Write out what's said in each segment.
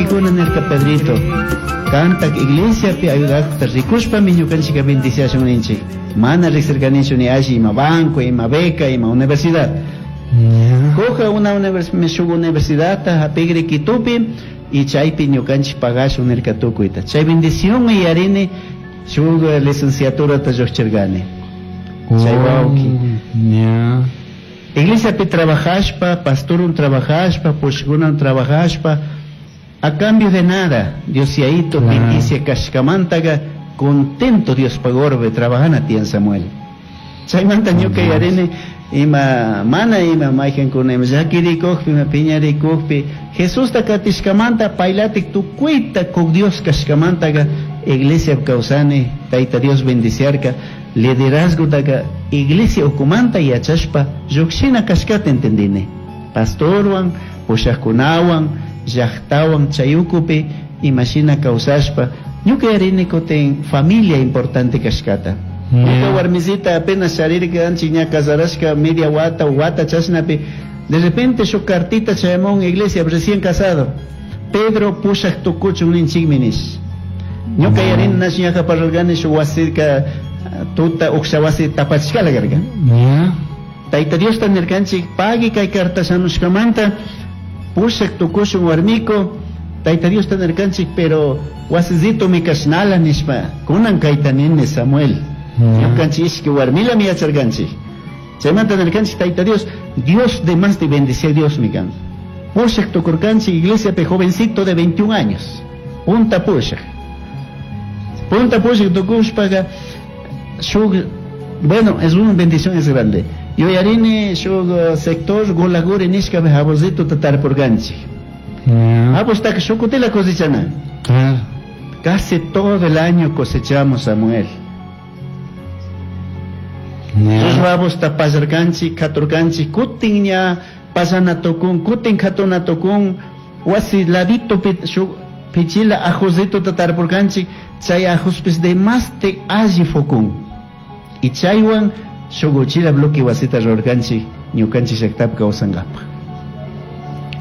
Wawkikuna nirka Pedrito, kantak iglesiapi ayudakta rikushpami ñukanchika bendiciashun ninchik. Mana riksirkanichu ni alli ima banco, ima beca, ima universidad. Kuja una shuk universidadta hapigri Quitupi y chaypi ñukanchik pagashun nirka tukuyta. Chay bendición yarini shuk licenciaturata lluqchirkani. Chay wawki. Iglesiapi trabajashpa, pastorun trabajashpa, pushkunan trabajashpa, a cambio de nada, Dios yaito bendice kashkamantaga, contento Dios pagorbe trabajana tiyan Samuel. Chaymanta ñuka yarini ima mana ima mayqankuna ima llakirikukpi, ima piñarikukpi, Jesusta katishkamanta paylatik tukuyta kuk Dios kashkamantaga iglesia kawsani, Tayta Dios bendiciarka, liderazgotaga iglesia ukumanta yachashpa lluqshina kashkata entendini. Pastorwan, pushaqkunawan, llaqtawan chay ukupi imashina kawsashpa ñuka yarini kutin familia importante kashkata. Ñuka warmisita apenas charirkanchik ña casarashka media wata wata chashnapi, de repente shuk cartita chayamun iglesia recién casado. Pedro pushaq tukuchun ninchikmi nish. Ñuka yarini nash ñaqa parlarkani shuk wasika tuta uksha wasi tapachishkala karka. Tayta Diosta nirkanchik pagui kay carta shamushkamanta pushaq tukushun warmiko. Tayta Diosta nirkanchik pero wasizito mi kashnala nishpa kunan kayta nini Samuel. Ñukanchik ishki warmilami yacharkanchik. Chaymanta nirkanchik Tayta Dios, Dios de más de bendecir Dios mi kan. Pushaq tukurkanchik iglesiapi jovencito de 21 años. Punta pushaq. Punta pushaq tukushpaga shuk, bueno, es una bendición, es grande. Yo yarini shuk sector Golaguri nishka jabozito tatarpurkanchik. Habos taka shukutila cosechana. Casi todo el año cosechamos, Samuel. Habos ta pasarkanchik, katurkanchik, kutin ña pasana tukun, kutin katuna tukun, wasi ladito shuk pichila ajosito tatarpurkanchik, chay ajospis de más te alli fokun. Y chaywan shuguchila bloque wasita rurkanchik, ñukanchik llaqtapi kawsankapaq.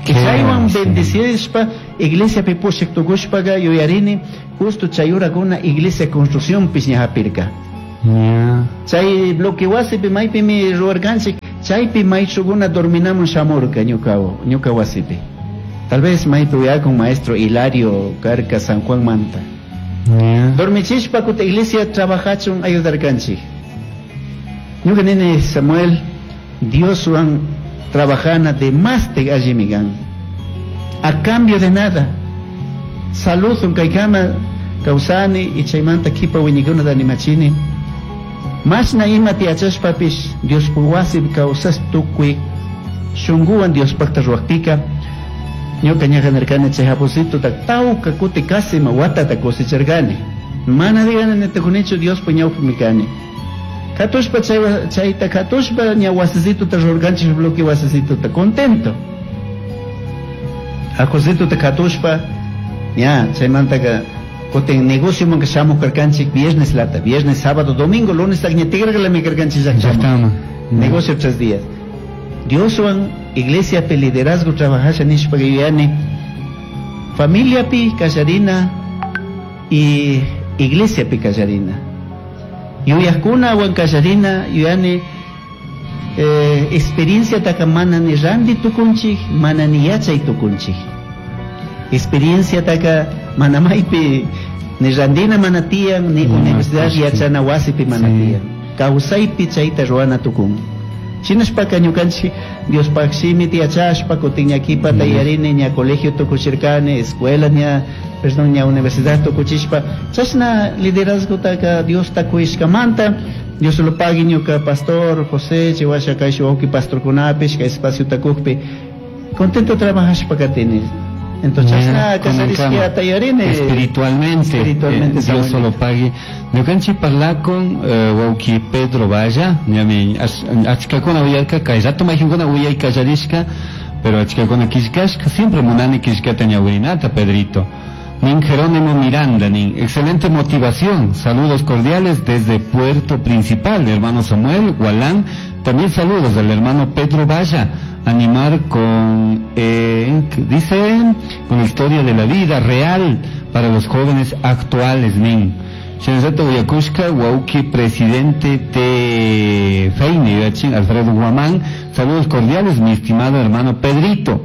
Chaywan bendecishpa iglesia pi pushak tukushpaga yuyarini justo chay urakuna iglesia construcción pis ña hapirka. Chay bloque wasipi maypimi ruwarkanchik, chaypi maychuguna dorminamun shamurka ñuka wasipi. Tal vez maypi uyakun maestro Hilario karka San Juan Manta. Dormichishpa kuta iglesia trabajachun ayudarkanchik. Ñuka nini Samuel, Dioswan trabajana de más te allimigan. A cambio de nada. Salud un kaikama kausani y chaymanta kipa wiñikuna da animachini. Mashna ima tiachashpapish Dios puwasi kausas tukuy shunguwan Dios pakta ruwakpika. Ñuka ñaja nirkani chay japosito ta tawka kuti casi ma watata cosecharkani. Mana digana nitukunichu Dios puñawpi kani. Katushpa chayta katushpa ña wasisito ta rurkanchik bloque wasisito ta contento. Ajosito ta katushpa ña chaymantaka kutin negocio manka shamuq karkanchik viernes lata, viernes, sábado, domingo, lunes ña tigraqlami karkanchik llaqtaman. Negocio 3 días. Dioswan iglesia pe liderazgo trabajasha nishpa yuyani familia pi kallarina y iglesia pi kallarina. Yuyaqkuna wan kallarina yuyani experiencia taka mana ni randi tukunchik, mana ni yachay tukunchik. Experiencia taka mana maypi ni randina mana tiyan, ni universidad yachana wasipi mana tiyan. Kawsaypi chayta ruwana tukun. Shinashpaka ñukanchik Diospaq shimita yachashpa kutin ña kipata yarini ña colegio tukuchirkani, escuela ña, perdón, ña universidad tukuchishpa chashna liderazgotaka Diosta kuyashkamanta Dios lo pagui ñuka pastor José chiwasha kay wawqi pastorkunapish kay espacio takukpi contento trabajashpa katini. Entonces chashna kasharishkata yarini espiritualmente, Dios lo pague. Ñukanchik parlakun wawqi Pedro Valla, ñami achkakuna uyarka kay rato mayqinkuna uyay kallarishka, pero achkakuna killkashka, siempre munani killkata ñawirinata Pedrito. Nin Jerónimo Miranda, nin excelente motivación, saludos cordiales desde Puerto Principal, hermano Samuel Gualán, también saludos del hermano Pedro Valla. animar con, dice, con la historia de la vida real para los jóvenes actuales, nin. Shinallatak uyakushka wawki presidente de Feini, Alfredo Guamán. Saludos cordiales, mi estimado hermano Pedrito.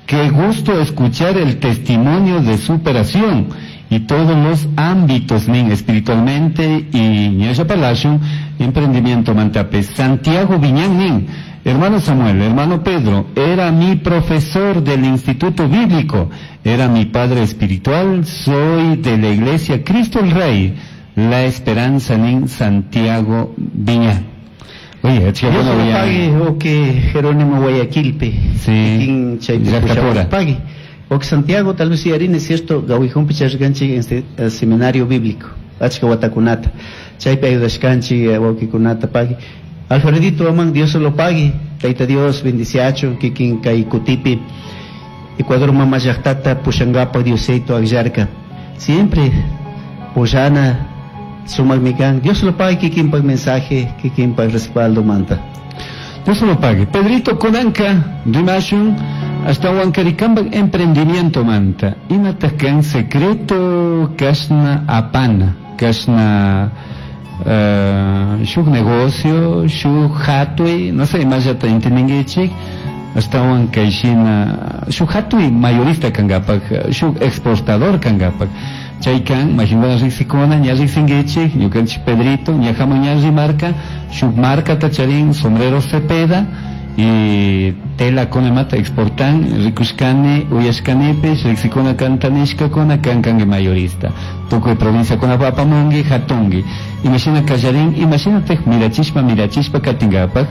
Qué gusto escuchar el testimonio de superación y todos los ámbitos, nin, espiritualmente y ñasha palacio, emprendimiento mantape. Santiago Viñán, nin. Hermano Samuel, hermano Pedro, era mi profesor del Instituto Bíblico, era mi padre espiritual, soy de la Iglesia Cristo el Rey, La Esperanza, nin, Santiago Viñán. Oye, Dios lo pague, o que Jerónimo Guayaquilpe, sí, pague. O que Santiago, tal vez yarini, es cierto, Gawijón Picharganchi en seminario bíblico, Achka Watakunata, Chaypi ayudashkanchi, wawkikunata pague. Alfredito Amán, Dios lo pague, Taita Dios, bendiciacho, kikin kay kutipi, Ecuador mama llaqtata pushangapa Diosito akllarka. Siempre pushana sumakmi kan. Dios lo pague, kikinpak mensaje, kikinpak respaldo manta. Dios lo pague. Pedrito Konanka, rimashun, hasta Huancaricamba emprendimiento manta. Imataq kan secreto kashna apana, kashna shuk negocio, shuk hatui, no sé, imallata entendinkichik, ashtawan kayshina shuk hatui mayorista kankapak, shuk exportador kankapak. Chay kan, mayqinkuna riqsikuna, ña riqsinkichik, ñukanchik Pedrito, ñajaman ña rimarka, shuk markata charin, sombrero Cepeda, y tela kunamata exportan, rikushkani, uyashkanipish, riqsikuna kantanishkakuna, kan kanki mayorista. Tukuy provincia kunapa apamunki, hatunki. Imashina kallarin, imashinataj mirachishpa, mirachishpa katinkapak,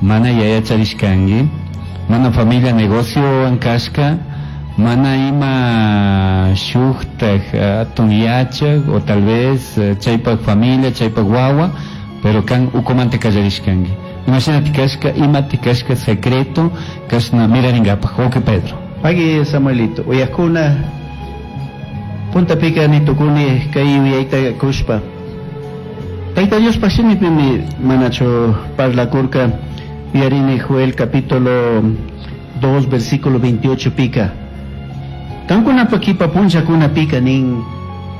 mana yaya charishkanki, mana familia negocio kashka, mana ima shuktaj atun yachak, o tal vez chaypak familia, chaypak wawa, pero kan ukumanta kallarishkanki. Imagínate kashka, imati kashka secreto, kashna mirarinkapak, oke Pedro. Pagui Samuelito, uyakuna, punta pika ni tukuni kay uyayta kushpa. Tayta Dios pashimipimi manacho parlakurka, uyarini Joel capítulo 2 versículo 28 pika. Kankuna pakipa punchakuna pika nin,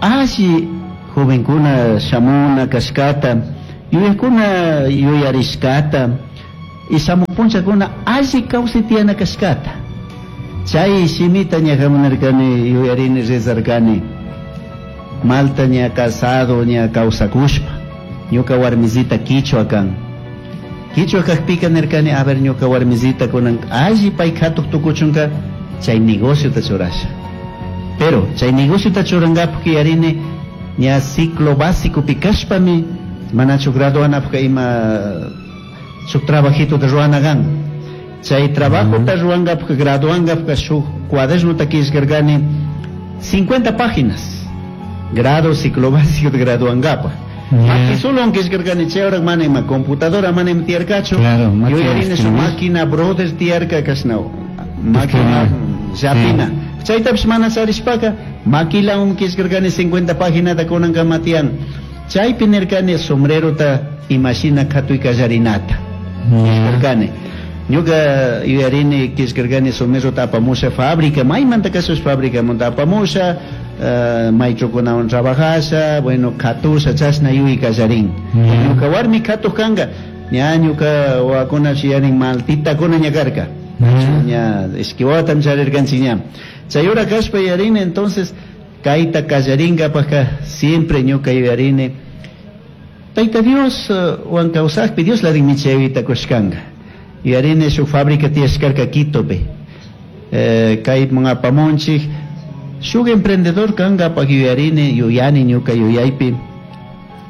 ashi jovenkuna shamuna kashkata, yuyakuna yuyarishkata, y shamupunchakuna alli kawsaytiyana kashkata. Chay shimita ñajamunarkani yuyarini rezarkani, malta ña casado ña kawsakushpa, ñuka warmisita kichwa kan. Kichwa kajpika nirkani, a ver ñuka warmisita kunan alli pay katuq tukuchunka, chay negociota churasha. Pero chay negociota churankapak yuyarini ña ciclo básico pikashpami, manachu graduanapaq ima shuk trabajito de ruana gan. Chay trabajo ta ruangapaq graduangapaq shuk cuadernota qillqarqani 50 páginas. Grado ciclo básico de graduangapaq. Maki solo qillqarqani chay hora mana ima computadora mana ima tiyarkachu. Claro, yuyarini su máquina brother tiyarka kashna máquina llapina. Chaytapish mana charishpaka maquilawan qillqarqani 50 paginata kunankama tiyan. Chaypi nirkani sombrerota imashina katuy kallarinata. Qillqarqani. Ñuka yuyarini qillqarqani sombrerota apamusha fábrica, maymanta kashash fabricamanta apamusha, maychukunawan trabajasha, bueno, katusha chashna yuy kallarin. Ñuka warmi katuq kanka, ña ñuka wawakuna yuyarin maltitakuna ña karka. Ña ishki wawatam charirkanchik ña. Chay hora kashpa yuyarini entonces kayta kallarinkapaqqa siempre ñuka yuyarini Tayta Dios wan kawsaqpi Dios ladinmi chayta kushkanka. Yuyarini shuk fábrica tiyashkarka Quitopi. Kayman apamunchik shuk emprendedor kankapaq yuyarini yuyani ñuka yuyaypi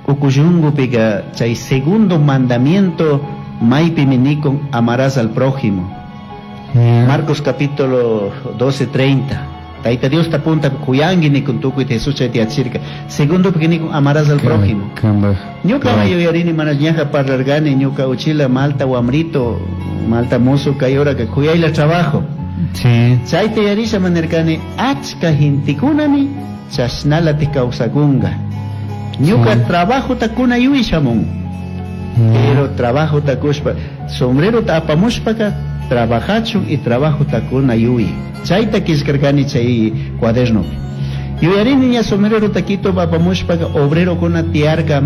ukushunqupika chay segundo mandamiento maypimi nikun amarás al prójimo. Marcos capítulo 12:30. Tayta Dios ta punta kuyanki nikun tukuy Jesús chayta yachirka. Segundo pika nikun amarás al prójimo. Ñuka yuyarini mana ñaja parlargani ñuka uchila malta wamrito malta musu kay hora que kuyayla trabajo. Sí. Chayta yarisha manirkani achka hintikunami chashnalati kawsakunga. Ñuka trabajo takuna yuy shamun. Pero trabajo takushpa sombrero ta apamushpaka Trabajachun y trabajota kuna yuyi. Chayta qillqarqani chay cuadernopi. Yuyarini ña sombrerota Quito apamushpaqa obrerokuna tiyarqa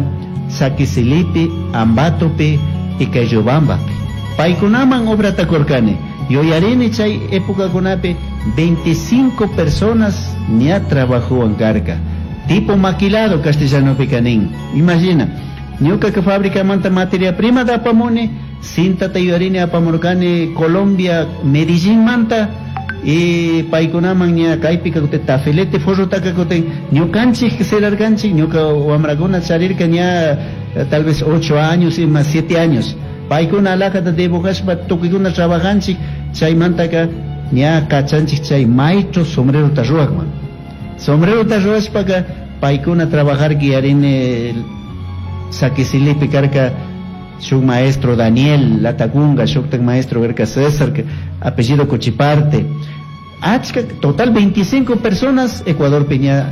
Saquisilipi, Ambatopi y Cayobambapi. Paykunaman obrata kurqani. Yuyarini chay epocakunapi 25 personas ña trabajowan karqa. Tipo maquilado castellanopiqa nin. Imagina, ñuqaqa fabricamanta materia primata apamuni, cintata yuyarini apamurqani Colombia Medellinmanta y paykunaman ña kaypika kutin tafilete forrotaka kutin ñukanchik cerrarkanchik, ñuka wamrakuna charirka ña tal vez 8 años y más 7 años. Paykuna alajata dibujashpa tukuykuna trabajanchik, chaymantaka ña kachanchik chay maestro sombrerota ruwaqman. Sombrerota ruwashpaka paykuna trabajar yarini Saquisilipi karka shuk maestro Daniel Latacunga, shuktak maestro karka César, apellido Cochiparte. Achka, total 25 personas Ecuador Peña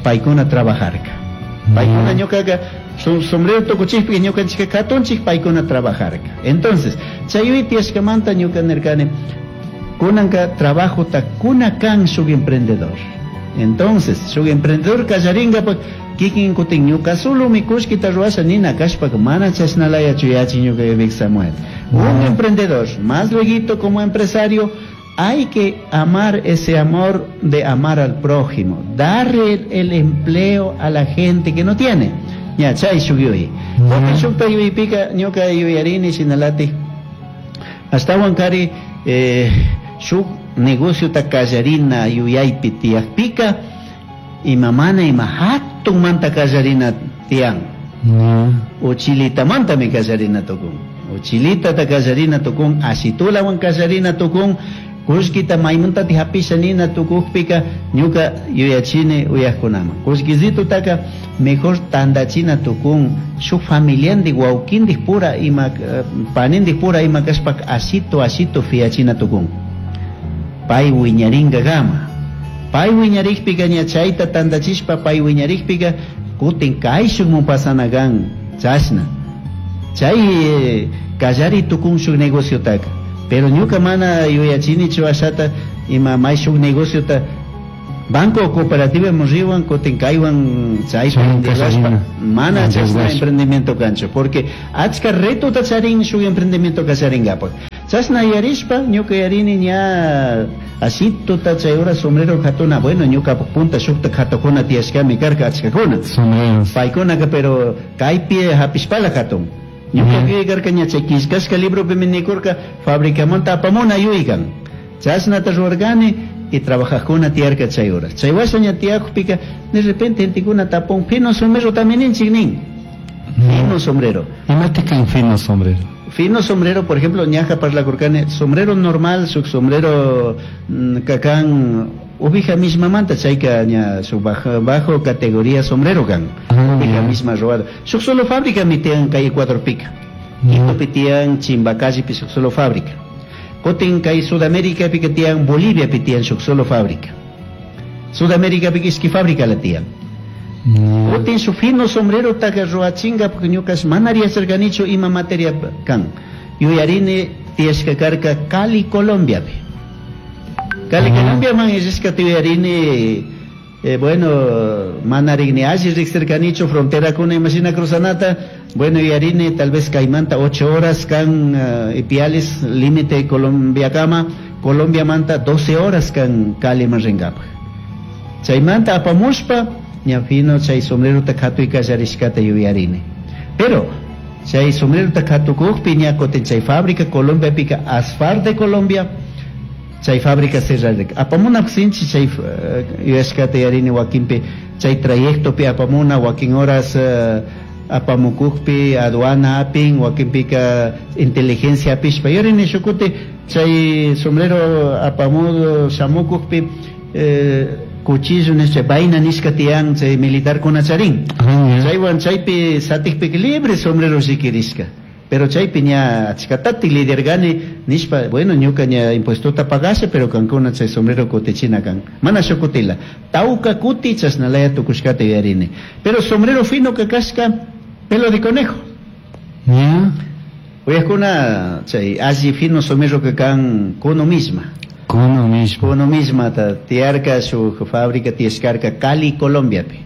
paykuna trabajarka. Paykuna ñukaqa su sombrero tukuchikpi ñukanchikka katunchik paykuna trabajarka. Entonces, chay tiyashkamanta ñuka nirkani kunanka trabajota kuna kan shuk emprendedor. Entonces, shuk emprendedor kallarinkapak kikin kutin ñuka solomi kullkita ruwasha nina kashpaka mana chashnalayachu yachin ñuka Vic Samuel. Un emprendedor, más lueguito como empresario, hay que amar ese amor de amar al prójimo, darle el empleo a la gente que no tiene. Ya, chay shuk yuyay. Kutin shukta yuyaypika ñuka yuyarini shinalatik ashtawan kari shuk negociota kallarina yuyaypi tiyakpika ima mana ima hatunmanta kallarina tiyan. Uchilitamantami kallarina tukun. Uchilitata kallarina tukun, ashitulawan kallarina tukun, kullkita maymantati hapisha nina tukukpika ñuka yuyachini uyakkunaman. Kullkisitutaka mejor tandachina tukun shuk familiandik wawkindik pura ima panindik pura ima kashpaka ashito ashito fiachina tukun. Pay wiñarinkakama. Pay wiñarikpika ña chayta tandachishpa pay wiñarikpika kutin kayshukmun pasana kan chashna. Chay kallari tukun shuk negociotaka. Pero ñuka mana yuyachinichu ashata ima may shuk negociota banco cooperativa riwan kutin kaywan chaypa endeudashpa mana chashna emprendimiento kanchu porque achka retota charin shuk emprendimiento kallarinkapak. Chashna yarishpa ñuka yarini ña ashituta chay hora sombrero katuna, bueno ñuka punta shukta katukuna tiyashkami karka achkakuna. Paykunaka pero kaypi hapishpala katun. Ñuka karka ña chay killkashka libropimi nikurka fabricamanta apamuna yuykan. Chashnata ruwarkani y trabajajkuna tiyarka chay horas. Chay washa ña tiyakupika de repente gentekuna tapun fino sombrero también ninchik nin. Fino sombrero. Imata kan fino sombrero? Fino sombrero, por ejemplo, ñaja parlakurkani, sombrero normal, shuk sombrero kakan ubija misma manta, chayka ña su bajo categoría sombrero kan. Ubija misma robada. Shuk solo fábrica mitian kay Ecuador pica. Quito pitian Chimbacalle pi shuk solo fábrica. Kutin kay Sudamérica pica tian Bolivia pitian shuk solo fábrica. Sudamérica pica iski fábrica la tian. Kutin su fino sombrero taka ruachinga porque ñukas mana yacharkanichu ima materia kan. Yuyarini tiyashka karka Cali, Colombia pi. Cali, Colombia man yachashka yuyarini bueno, manarigni alli riqsirkanichu frontera kuna imashina cruzanata, bueno yuyarini tal vez kaymanta 8 horas kan Ipiales límite Colombia kama, Colombia manta 12 horas kan Cali man rinkapak. Chaymanta apamushpa ña fino chay sombrerota katuy kallarishkata yuyarini. Pero chay sombrerota katukukpi ña kutin chay fábrica Colombia pika Asfar de Colombia chay fábrica cerrarka. Apamuna sinchi chay yuyashkata yarini wakinpi chay trayectopi apamuna wakin horas apamukukpi aduana apin wakinpika inteligencia apishpa yurini shukuti chay sombrero apamudo shamukukpi cuchillo nishpa vaina nishka tiyan chay militar kuna charin. Chaywan chaypi satikpika libre sombrero shikirishka. Pero chaypi ña achkatati lidergani nishpa, bueno ñuka ña impuestota pagasha pero kankuna chay sombrero kutichina kan. Mana shukutila. Tauka kuti chashnalaya tukushkata yuyarini. Pero sombrero fino kakashka pelo de conejo. Uyajkuna chay alli fino sombrero que kan kuno misma. Kuno misma. Kuno misma ta tiyarka shuk fábrica tiyashkarka Cali, Colombiapi.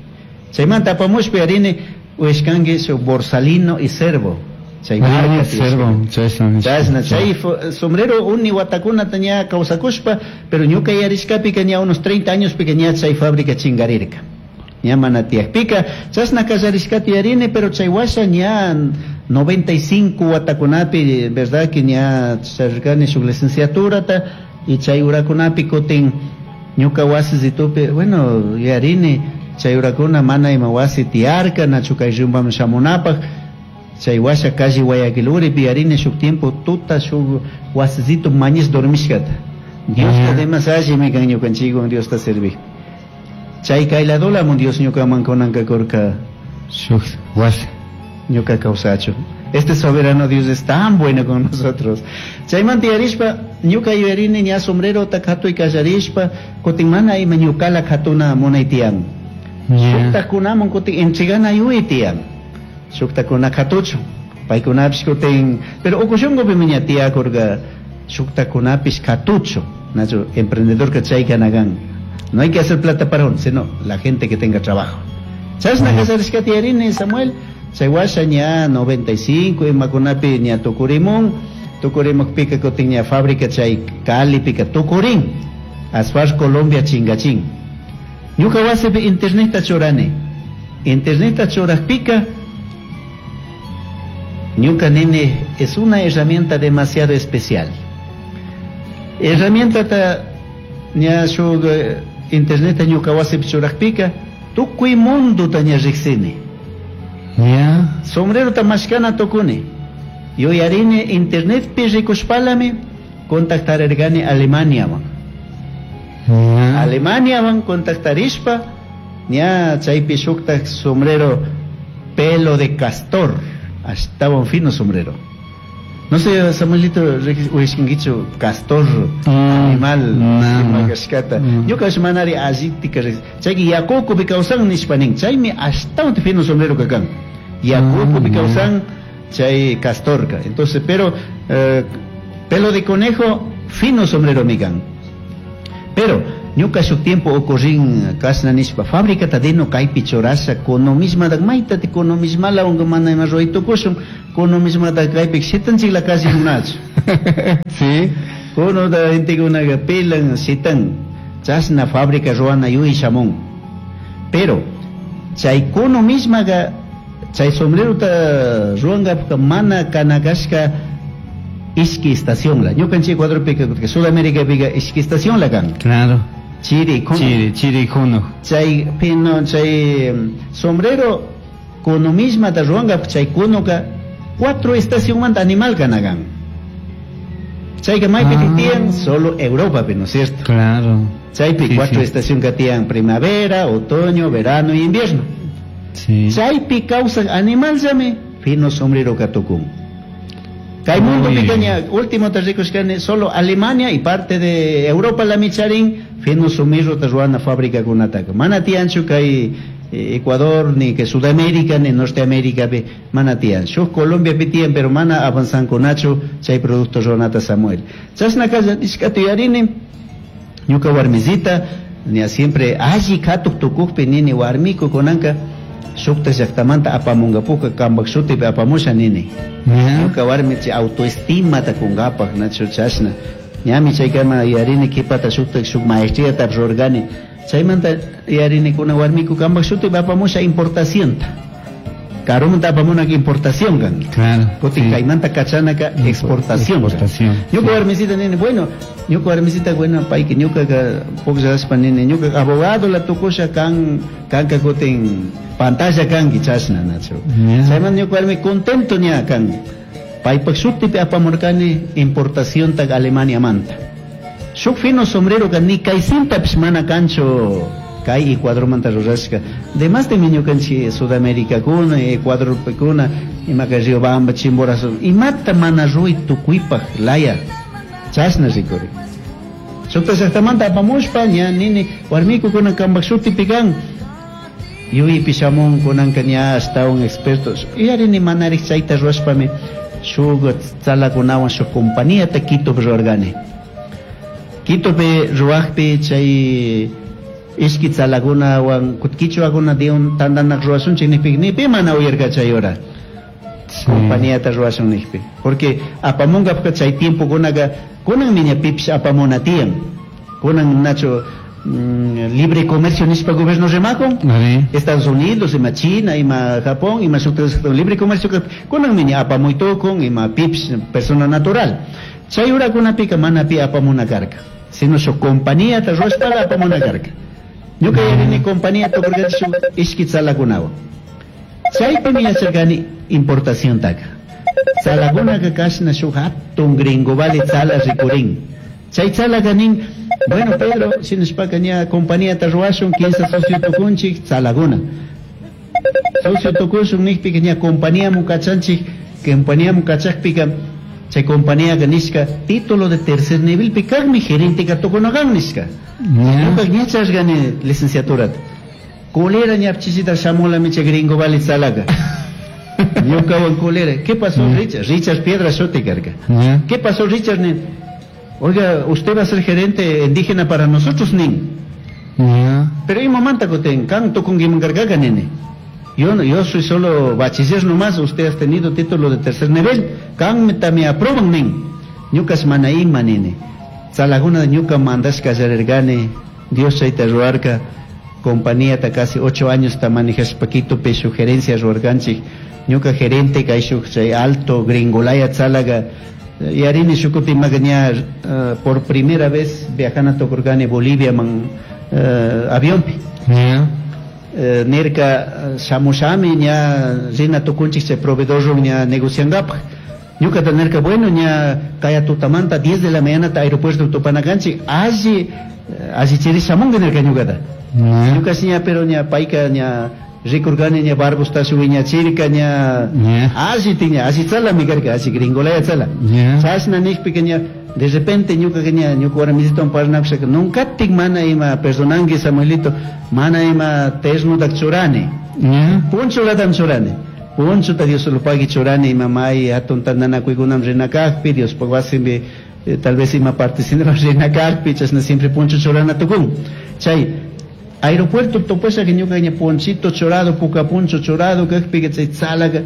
Chaymanta apamushpa yarini uyashkanki shuk Borsalino y Cervo. Chay marca Cervo, chashna. Chashna, chay sombrero uni watakunata ña kawsakushpa, pero ñuka yarishkapika ña unos 30 años pika ña chay fábrica chingarirka. Ña mana tiyakpika, chashna kallarishkata yarini, pero chay washa ña 95 watakunapi, verdad que ña charirkani shuk licenciaturata, y chay urakunapi kutin ñuka wasisitupi, bueno, yarini, chay urakuna mana ima wasi tiyarka, nachu kay rumbaman shamunapaj, chay washa calle Guayaquil uripi yarini shuk tiempo tuta shuk wasisito mañis dormishkata. Diosta demás allimi kan ñukanchikwan Diosta servij. Chay kayladolamun Dios ñukaman kunanka kurka shuk wasi ñuka kawsachu. Este soberano Dios es tan bueno con nosotros. Chaymanta yarishpa ñuka yuyarini ña sombrerota katuy kallarishpa kutin mana ima ñukala katuna munay tiyan. Shuktakunaman kutin entregana yuy tiyan. Shuktakuna katuchu. Paykunapish kutin, pero ukushunqupimi ña tiyakurka shuktakunapish katuchu. Nachu emprendedor que chay kanagan. No hay que hacer plata para uno, sino la gente que tenga trabajo. Chashna kallarishkata yarini Samuel. Chay washa ña 95 imakunapi ña tukurimun, tukurimukpika kutin ña fábrica chay Calipika tukurin, Asfar Colombia chingachin. Ñuka wasipi interneta churani. Interneta churajpika ñuka nini es una herramienta demasiado especial. Herramienta ta ña shuk interneta ñuka wasipi churajpika tukuy mundo ta ña riksini. Sombrero ta mashkana tukuni. Yuyarini internetpi rikushpalami contactarergani Alemaniawan. Alemaniawan contactarishpa ña chaypi shuktak sombrero pelo de castor, ashtawan fino sombrero. No sé, Samuelito, uyashkankichu castor animal ima kashkata. Ñuka manari allitika chayki yakukupi kawsan nishpa nin, chaymi ashtawan fino sombrero kakan. Yakukupi kawsan chay castorka. Entonces, pero pelo de conejo, fino sombrero mikan. Pero ñuka shuk tiempo ocurrin kashna nishpa fábrica tadino kaypi churasha kuno misma mayta te kuno mismala unga mana ima ruray tukushun kuno misma da kaypi shitanchik la calle kunachu. Sí. Kuno da gentekunaqa pilan shitan chashna fábrica ruwana yuy shamun. Pero chay kuno mismaqa chay sombrerota ruwanqapqa mana kanakashka ishki estación la. Ñukanchik Ecuadorpika Sudamérica ishki estación la kan. Claro. Chiri, kuno. Chiri, kuno. Chay pino, chay sombrero kuno misma ta ruwanqapqa chay kunoqa 4 estación manta animal kanakan. Chayqa maypi tiyan solo Europa, ¿no es cierto? Claro. Chaypi Sí, 4 sí. estación katiyan primavera, otoño, verano y invierno. Sí. Chaypi kawsaq animal llami fino sombrero katukun. Kay mundo picaña, último te rikushkani solo Alemania y parte de Europa la micharin fino sombrero te ruana fábrica kunataka. Mana tiyanchu kay Ecuador, ni que Sudamérica, ni Norteamérica, pe, mana tiyan. Shuk Colombia pi tiyan, pero mana avanzan kunachu chay producto ruanata Samuel. Chashna kalla nishkatu yarini, ñuka warmisita, ña siempre alli katuk tukukpi nini warmiku kunanka, shukta llaktamanta apamungapuka kambak shutipi apamusha nini. Ñuka warmi chay autoestima ta kungapak, nachu chashna. Ñami chaykama yarini kipata shukta shuk maestriata rurgani. Chaymanta yarini kuna warmiku kambak shutipi apamusha importacionta. Karumanta apamunaka importación kan. Claro. Kutin sí. kaymanta kachanaka exportación. Exportación. Ñuka warmisita nini, bueno, ñuka warmisita bueno payki ñuka pukllashpa nini, ñuka abogado la tukusha kan kanka kutin pantalla kanki chashna nachu. Chaymanta ñuka warmi contento ña kan. Paypak shutipi apamurkani importación ta Alemania manta. Shuk fino sombrero ka ni kaysintapish mana kanchu kay Ecuadormanta rurashka. Demás de ñukanchik Sudamérica kuna, Ecuador kuna, imaka Riobamba, Chimborazo, imata mana ruy tukuypaj laya chashna rikuri. Shukta llaktamanta apamushpa ña nini warmiku kuna kambak shutipi kan. Yuypi shamun kunanka ña ashtawan expertos. Yarini manarik chayta rurashpami Shuk tzalakunawan shuk compañíata Quitopi ruwarkani. Quitopi ruwakpi chay ishki tzalakunawan quichuakuna diun tantanak ruwashunchik nijpi ni pi mana uyarka chay hora. Compañíata ruwashun nijpi. Porque apamunkapka chay tiempokunaka kunanmi ña pipish apamuna tiyan. Kunan nacho libre comercio nishpa gobierno rimakun. Estados Unidos, ima China, ima Japón, ima shuk libre comercio kunanmi ña apamuy tukun, ima pipish persona natural. Chay urakunapika mana pi apamuna karka. Sino shuk compañíata ruwashpala apamuna karka. Ñuka yarini compañía tukurkani shuk ishki tzalakunawan. Chaypimi yacharkani importación taka. Tzalakunaka kashna shuk hatun gringo vale tzala rikurin. Chay tzalaka nin, bueno Pedro, shinashpaka ña compañíata ruwashun, kinsa socio tukunchik, tzalakuna. Socio tukushun nijpika ña compañía kachanchik, compañía kachakpika, chay compañía nishka, título de tercer nivel pikakmi gerente ka tukunakan nishka. Ñuka ña chashkani licenciaturata. Culera ña chisita shamulami chay gringo vale tzalaka. Ñukawan culera. ¿Qué pasó, Richard? Richard Piedra shuti karka. ¿Qué pasó, Richard? Nin? Oiga, usted va a ser gerente indígena para nosotros, nin. Pero imamanta kutin, kan tukunkiman karkaka, nene. Yo no, yo soy solo bachiller nomás, usted ha tenido título de tercer nivel. Kan me aprueban, nin. Ñukas mana ima, nene. Tzalaguna ñuka mandashka yarergane, Dios chayta ruarka, compañía ta casi 8 años ta manejashpa Quitopi shuk gerencia ruarkanchik. Ñuka gerente kay shuk chay alto gringolaya tzalaga. Yarini shukuti maga ña, por primera vez viajana tukurkani Bolivia man, avionpi. Nirka shamushami ña rina tukunchik chay proveedor ña negociangapaj. Ñuka ta nirka, bueno, ña kaya tutamanta 10 de la mañana ta aeropuerto tupanakanchik, alli, alli chiri shamunga nirka ñukata. Ñuka si ña, pero ña payka ña rikurkani ña barbusta shuwiñachirka ña alli tiña, alli tzalami karka, alli gringolaya tzala. Chashna nijpika ña, de repente ñuka ña, ñuka warmisitowan parlanakushaka, nunkatik mana ima perdonanki Samuelito, mana ima ternutak churani. Punchulatam churani. Punchuta Dios lo pagui churani, ima may hatun tantanakuykunam rinakakpi, Dios wasimpi, tal vez ima parte rinakakpi, chashna siempre punchu churana tukun. Chay aeropuerto topasha que ñuka ña ponchito chorado, puka puncho chorado, kakpi que chay tzalaka,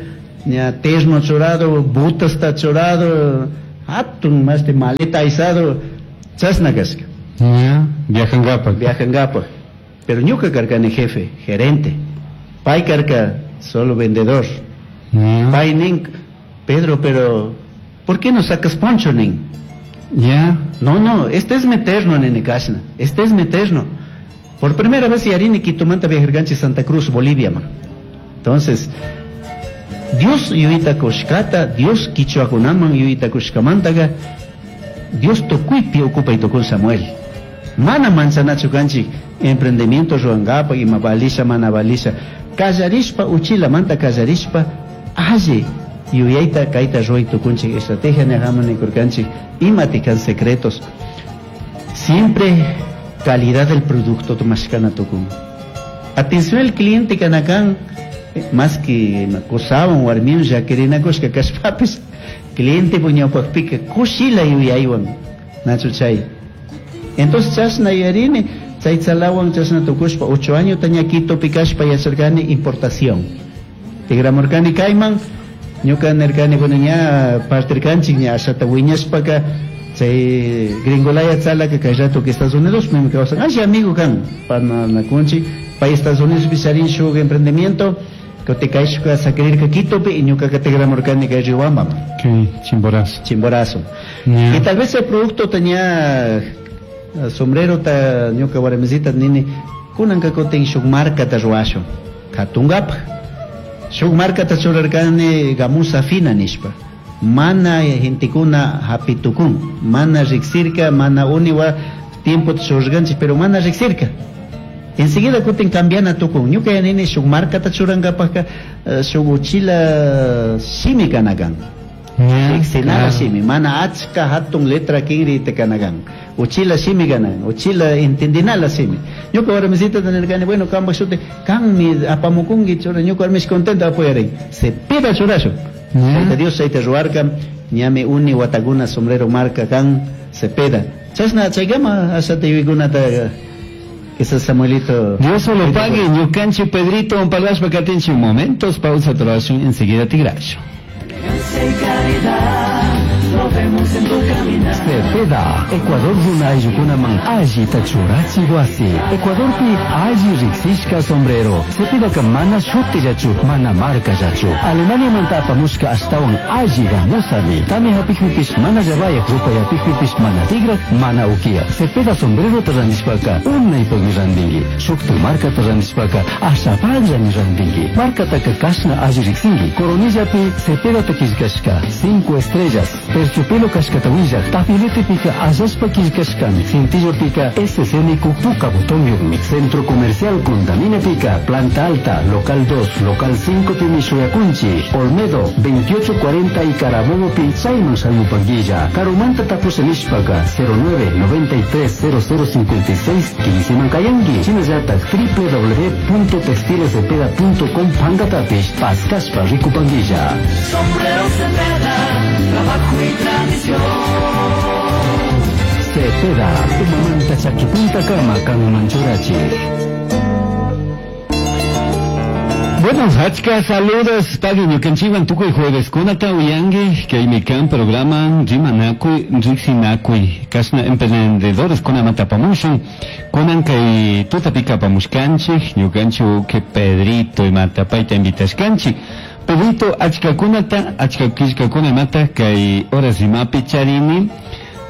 ña terno chorado, botas ta chorado, hatun más de maleta aizado, chashna kashka. Viajangapaj. Viajangapaj. Pero ñuka karkani jefe, gerente. Pay karka solo vendedor. Pay nin, Pedro, pero ¿por qué no sacas poncho, nin? No, no, este es mi terno, nene kashna. Este es mi terno. Por primera vez yarini Quitomanta viajarganchi Santa Cruz, Bolivia, man. Entonces, Dios yuyita kushkata, Dios quichuakunaman yuyita kushkamantaga, Dios tukuypi ocupay tukun Samuel. Mana manchanachu kanchik emprendimiento ruangapa ima balisha mana balisha. Kallarishpa uchila manta kallarishpa alli yuyayta kayta ruay tukunchik estrategia nejaman nikurkanchik imati kan secretos. Siempre calidad del producto mashkana tukun. Atención al cliente kanakan, más que makusawan warmiun llaquirinakushka kashpapis, cliente puñawpaqpika kushila yuyaywan nachu chay. Entonces chashna yuyarini chay tzalawan chashna tukushpa 8 años taña Quitopi kashpa yacharkani importación. Tigramurkani kayman, ñuka nirkani, bueno, ña partirkanchik ña ashata wiñashpaka chay gringolaya tzalaka kay rato que Estados Unidos me kawsan, ay amigo kan pananakunchik pay Estados Unidos pisarin shuk emprendimiento que te kaishka sakirirka Quitopi y ñuka ka tigramurkani kay Riobamba. Okay, Chimborazo. Chimborazo. Y tal vez el producto tenía sombrero ta ñuka warmisita nini kunanka kutin shuk marca ta ruwashun katungapaj shuk marca ta churarkani gamusa fina nishpa mana gentekuna hapitukun mana riksirka mana uniwa tiempo ta churarkanchik pero mana riksirka enseguida kutin cambiana tukun ñuka yanini shuk marca ta churankapajka, shuk uchila shimi kanakan. Riksinara shimi mana achka hatun letra kinri te kanakan uchila shimi kanan uchila entendinala shimi ñuka warmisita tenerkani bueno kamba shute kanmi apamukunki chura ñuka warmis contento apoyarin se pida churashu Tayta Dios chayta ruwarka, ñami uni watakuna sombrero marca kan Cepeda. Chashna chaykama ashata yuyaykunata quizás Samuelito. Dios solo pague, ñukanchi Pedrito, un parlashpa katinchi momentos, pausa trabajón, enseguida tigrasho. Elegancia y calidad, lo vemos en tu caminar. Cepeda, Ecuador runa ayllukunaman allita churachi wasi. Ecuadorpi alli riqsishka sombrero. Cepedaka mana shutillachu, mana markallachu. Alemaniamanta apamushka ashtawan alli gamusami. Tami hapikpipish mana llabayaq, rupayapikpipish mana tigrak, mana ukiyak. Cepeda sombrerota randishpaka unaypaqmi randinki. Shukta markata randishpaka ashapaqllami randinki. Markataka kashna alli riqsinki. Coronillapi Cepedata qillqashka 5 estrellas. Terciopelo kashkata willaq. Tafiletepika allashpa qillqashkami. Cintillopika SCN puka botonyuqmi. Centro Comercial Condaminapika, Planta Alta, Local 2, Local 5 pimi shuyakunchi. Olmedo, 2840 y Carabobo pi chayman shamupanguilla. Karumanta tapusha nishpaka, 09 93 00 56 15 mankayanki. Shinallatak w w w punto textilescepeda punto com pankatapish paskashpa rikupanguilla. Sombrero Cepeda, trabajo y tradición. Cepeda, umamanta chakipunta kama kanman churachi. Bueno, achka saludos, pagui ñukanchikwan tukuy jueves kunata uyanki, kaymi kan programa Rimanakuy, Riqsinakuy, kashna emprendedores kunamanta apamushun, kunan kay tutapika apamushkanchik, ñukanchik uke Pedrito imata payta invitashkanchik. Pedrito, achka kunata, achka killkakuna imata kay horas imapi charini,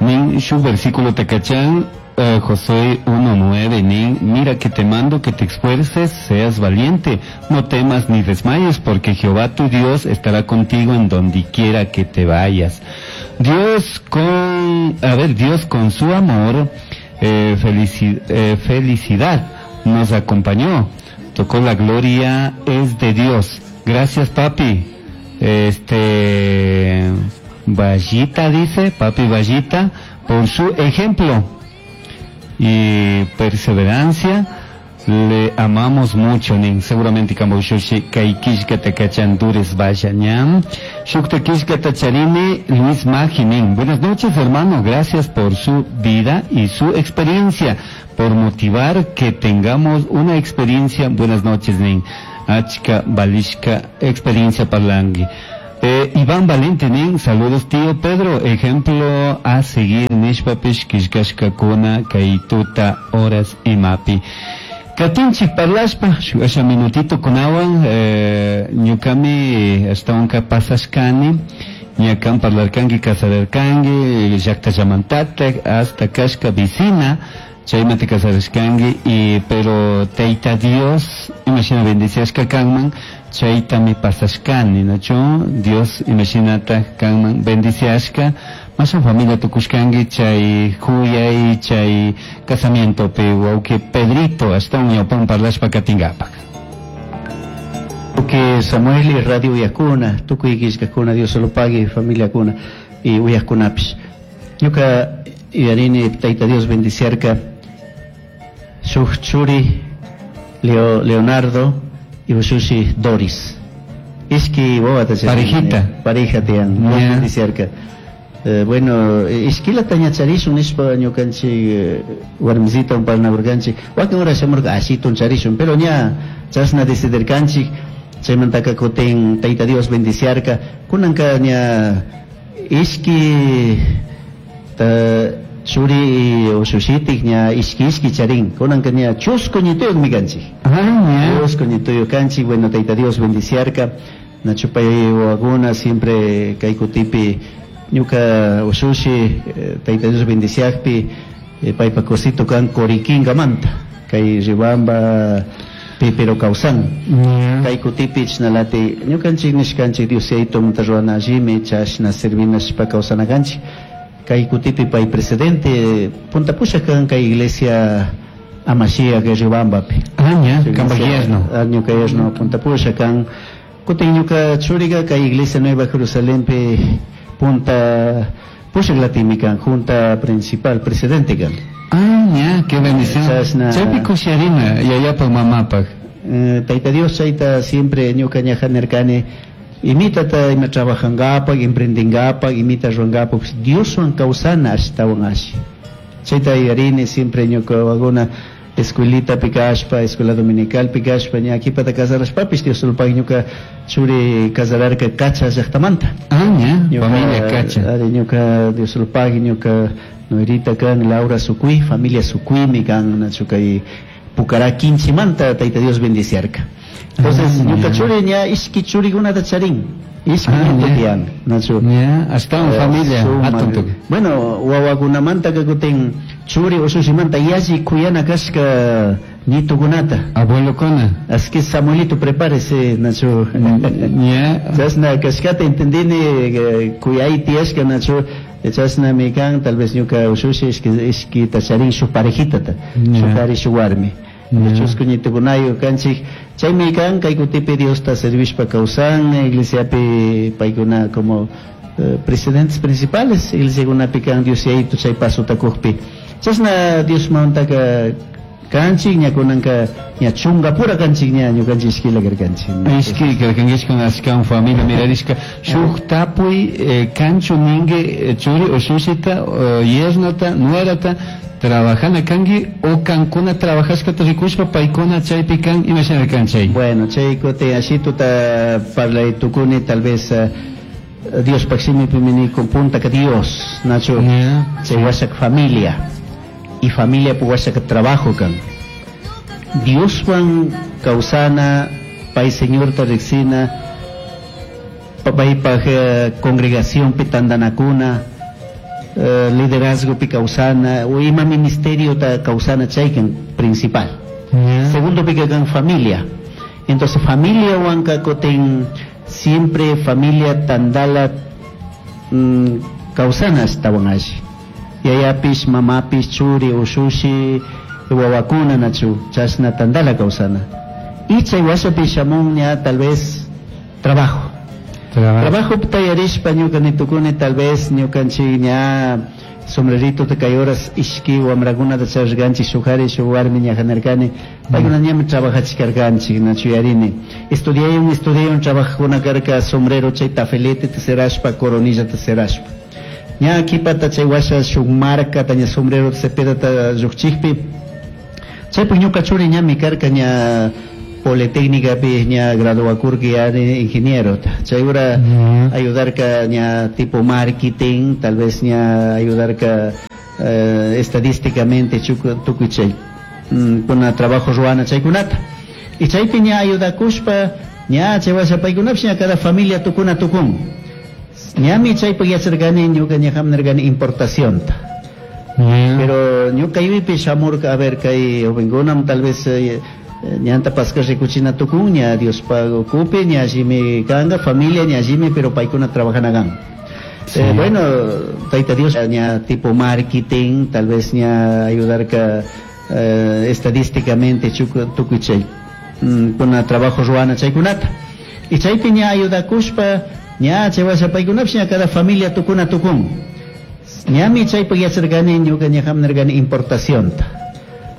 nin shuk versículo takachan, Josué 1:9, nin, mira que te mando que te esfuerces, seas valiente, no temas ni desmayes, porque Jehová tu Dios estará contigo en donde quiera que te vayas. Dios con su amor, felicidad nos acompañó, tocó la gloria, es de Dios. Gracias, papi. Vallita dice, papi Vallita, por su ejemplo y perseverancia, le amamos mucho, nin. Seguramente kamoshoshi kaikishka takachan dures vaya ñam. Shukta kishka tacharine Luis Maji, nin. Buenas noches, hermano, gracias por su vida y su experiencia, por motivar que tengamos una experiencia. Buenas noches, nin. Achka balishka experiencia parlangi. Iván Valente, nin, saludos tío Pedro, ejemplo a seguir, nishpapish kishkashka kuna kaituta horas imapi. Katinchik parlashpa, shuasha minutito kunawan, ñukami ashtawanka pasashkani, ñakan parlarkanki, casararkanki, llakta llamantatak, hasta kashka vicina, chaymanta casarashkanki, y, pero Tayta Dios, imagina bendiciashka kanman, chaytami pasashkani, ¿nacho? Dios, imaginata kanman bendiciashka, mashan familia tukushkanki, chay huyay, chay casamiento pe, wauki Pedrito, hasta un ñawpan parlashpa katingapak. Que Samuel y Radio Uyakuna, tukuy killkakuna, Dios se lo pague, familia kuna, y Uyakunapish. Ñuka yuyarini, Tayta Dios bendiciarka, shuk churi, Leonardo, y ushushi Doris. Ishki wawa ta chay. Parejita. Pareja tiyan, Dios bendiciarka. Bueno, ishkila taña charishun nishpa ñukanchik warmisita un parnaburkanchik. Wakin hora shamurka ashitun charishun, pero ña chashna decidirkanchik, chaymantaka kutin Tayta Dios bendiciarka. Kunanka ña ishki ta churi ushushitik ña ishki ishki charin. Kunanka ña chusku ñituyuqmi kanchik. Ah, ña. Chusku ñituyuq kanchik. Bueno, Tayta Dios bendiciarka. Nachupay wawakuna siempre kay kutipi ñuka ushushi Tayta Dios bendiciakpi paypa cosito kan Coriquingamanta kay Riobamba Pipero kawsan. Kay kutipi chnalati ñukanchik nishkanchik Dios yaytumanta ruwana allimi chashna servinashpa kawsanakanchik. Kay kutipi pay presidente punta pushak kan kay iglesia Amashia kay Riobambapi. Ah, ña, Sí, kamba iglesia, yerno. ah, ñuka yerno punta pushak kan. Kutin ñuka churiga kay iglesia Nueva Jerusalénpi punta pushak latimi kan, junta principal, presidente kan. Ah, ña, qué bendición. Chashna. Chaypi kusharina, yayapaj, mamapaj. Tayta Dios chayta siempre ñuka ñajanerkani. Imitata ima trabajangapaq, emprendingapaq, imita ruangapaq, Dioswan kawsana ashtawan ashi. Chayta yuyarini siempre ñuka wawakuna escuelita kashpa, escuela dominical kashpa, ña qhipata casarashpapish Dioslopaq ñuka churi casararka Cacha llaqtamanta. Ah, ña, familia Cacha. Ari ñuka Dioslopaq ñuka nuerita kan Laura Sucuy, familia Sucuymi kan nachu kay Pucará Quinchimanta Tayta Dios bendiciarka. Entonces, ñuka churi ña ishki churikunata charin. Ishki nieto tiyan, nachu. Ña, ashtawan familia hatun tukuy. Bueno, wawakunamanta kutin churi usushimanta yalli kuyana kashka nietukunata. Abuelokuna. Así que Samuelito, prepárese, Nacho. Ña. Chashna kashkata entendini kuyay tiyashka, Nacho. Chashnami kan, tal vez ñuka ushushi ishkita charin shuk parejitata, shuk kari shuk warmi. Chusku ñitukunayu kanchik. Chaymi kan kay kutipi Diosta servishpa kawsan, iglesiapi paykuna como presidentes principales, iglesiakunapi kan Dios yayito chay pasota kukpi. Chashna Diosmantaka kanchik, ña kunanka ña chungapura kanchik ña ñukanchik ishkila karkanchik. Ishki karkanchik ashkan familia mirarishka. Shuk tapuy kanchu ningue churi ushushita, yernata, nuerata, trabajana kangi o kankuna trabajashkata rikushpa paykuna chaypi kan imashina kan chay. Bueno, chay kutin ashituta parlay tukuni tal vez Dios paximi con punta que Dios, Nacho, chay washak familia y familia pu washak trabajo kan. Dioswan kawsana pay Señor ta riksina paypaj congregación pi tandanakuna, liderazgo pi kawsana o ima ministerio ta kawsana chaykan principal. Segundo pi kan familia. Entonces familia wanka kutin siempre familia tandala kawsana ashtawan alli. Yayapish, mamapish, churi, ushushi, wawakuna nachu, chashna tandala kawsana. Y chay washapi shamun ña tal vez trabajo. Trabajo tayarishpa ñuka nitukuni tal vez ñukanchik ña sombrerito te kay horas ishki wamrakunata charishkanchik shuk kari shuk warmi ña janarkani paykuna ñami trabajachikkarkanchik nachu yarini. Estudiayun trabajakuna karka sombrero chay tafelete te cerashpa coronilla te cerashpa. Ña kipata chay washa shuk marca taña sombrero cepedata llukchikpi chaypuk ñuka churi ñami karka ña Politécnica pi ña graduakurki ya de ingeniero. Chay ura ayudarka ña tipo marketing, tal vez ña ayudarka estadísticamente tukuy chay. Kuna trabajo ruana chaykunata. Y chaypi ña ayudakushpa ña chay washa paykunapish ña cada familia tukuna tukun. Ñami chaypuk yacharkani ñuka ña hamnarkani importacionta. Pero ñuka yuypi shamurka, a ver, kay jovenkunam tal vez ñanta pasca rikuchina tukun, ña Dios pago kupi, ña allimi kanga, familia ña allimi, pero paykuna trabajana kan. Bueno, Tayta Dios ña tipo marketing, tal vez ña ayudarka estadísticamente tukuy chay. Kuna trabajo ruana chaykunata. Y chaypi ña ayudakushpa, ña chay washa paykunapish ña cada familia tukuna tukun. Ñami chaypuk yacharkani ñuka ña hamnarkani importacionta.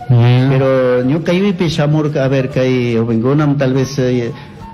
Pero ñuka yuypi shamurka, a ver, kay jovenkunam tal vez